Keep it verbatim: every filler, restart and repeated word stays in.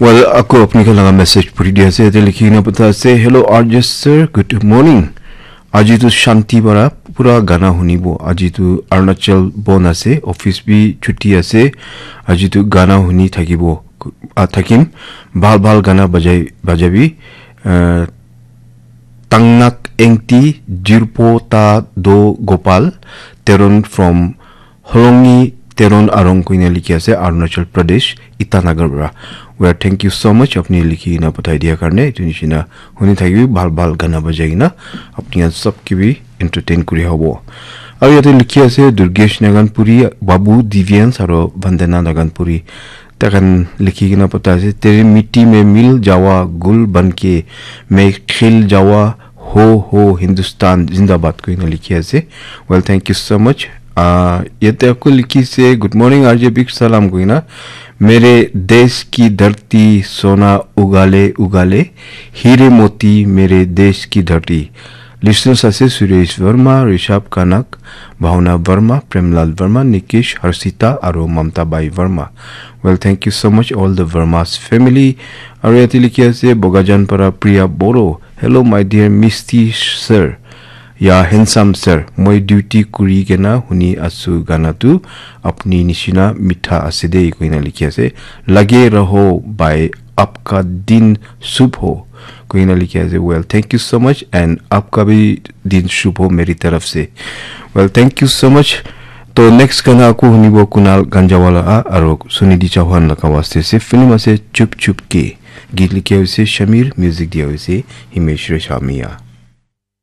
Well, ako apni khan laga message puri di ase, yate likhi kena pata ase, "Hello, R J sir, good morning. Aji tu shanti bara pura gana hunibo. Aji tu Arunachal bon ase, office bi chuti ase. Aji tu gana huni thakibo, ah, thakim. Bhal bhal gana bajai, bajabi. Ah, Tangnak Engti, Jirpo Ta Do Gopal, Teron from Holongi Teron Arong," koina likhi ase, Arunachal Pradesh, Itanagar para. Well, thank you so much, apni likhi kena pathai dia karne. Etu nishina huni thakibi, bhal bhal gana bajai kena apni khan sob ke bi entertain kuri hobo. Aru yate likhi ase Durgesh Naganpuri, Babu Divyans aru Vandana Naganpuri. Takhan likhi kena pata ase, "Tere mitti mein mil jawa gul banke, main khil jawa ho ho Hindustan zindabad," koina likhi ase. Well, thank you so much. Ah, yate ako likhi ase, "Good morning, R J, big salam," koina. "Mere desh ki dharti sona ugale ugale, hire moti mere desh ki dharti." Listeners ase Suresh Verma, Rishabh Kanak, Bhavna Verma, Premlal Verma, Nikish, Harshita, aru Mamta Bai Verma. Well, thank you so much, all the Verma's family. Aru yate likhi ase Bogajan para Priya Boro. "Hello, my dear Misty sir. Ya handsome sir. Moi duty kuri kena huni asu gana tu apni nishina mitha ase de," koina likhi ase. "Lage raho bhai, apka din shubh ho," koina likhi ase. Well, thank you so much and apka bhi din shubh ho meri taraf se. Well, thank you so much. To next gana ako hunibo Kunal Ganjawala a, aru Sunidhi Chauhan laga waste se film ase Chup Chup Ke. Geet likhi ase Shamir, music dia ase Himesh Reshamia.